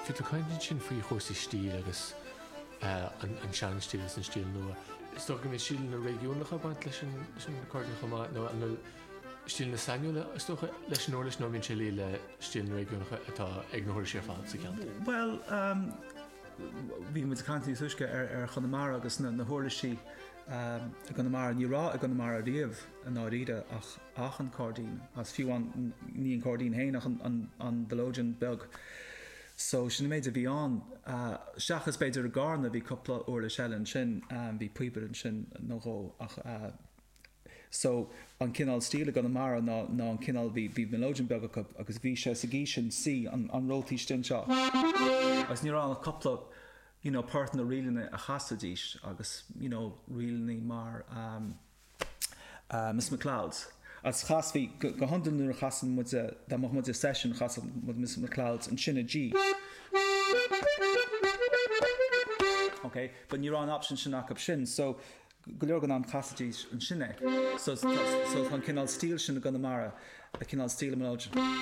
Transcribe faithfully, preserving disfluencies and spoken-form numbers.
Bhí tú caint ansin faoi chúrsaí stíl agus uh, an, an seanstíl agus an stíl nua. Is dócha go mbíonn stíleanna réigiúnacha baint leis an leis an accordion chomh maith nó an bhfuil stíleanna sainiúla is dócha leis an uirlis nó bíonn sé le stíleanna réigiúnacha atá ag na huirlisí ar fad sa cheantar. Well, um, bhí muid caint níos túisce ar ar Chonamara agus na, na huirlisí um, i gConamara ní raibh i gConamara riamh i ndáiríre ach ach an cairdín as fiú an ní an cairdín féin ach an, an, an mhileoidean beag. So sin an méid a bhí ann uh, seachas b'fhéidir i gCarna bhí cúpla uirlis eile ansin um, bhí píobaire ansin nó dhó ach uh, so an cineál stíl i gConamara ná ná an cineál bhí bhí mileoidean beag acu agus bhí sé sa G sin C an, an rótaí sin seo. Agus ní raibh ach cúpla you know, port na ríleanna a chasaidís agus you know, ríleanna mar um, uh, Miss McLeod's. As chasfaí go go hiondúil nuair a chasann muid dá mbeadh muid i session chasadh muid Miss McLeod's ansin i G. Okay, but ní raibh an option sin acu sin, so go leor den am chasaidís ansin é. So, so tá an cineál stíl sin i gConamara, a cineál stíl mileoidean.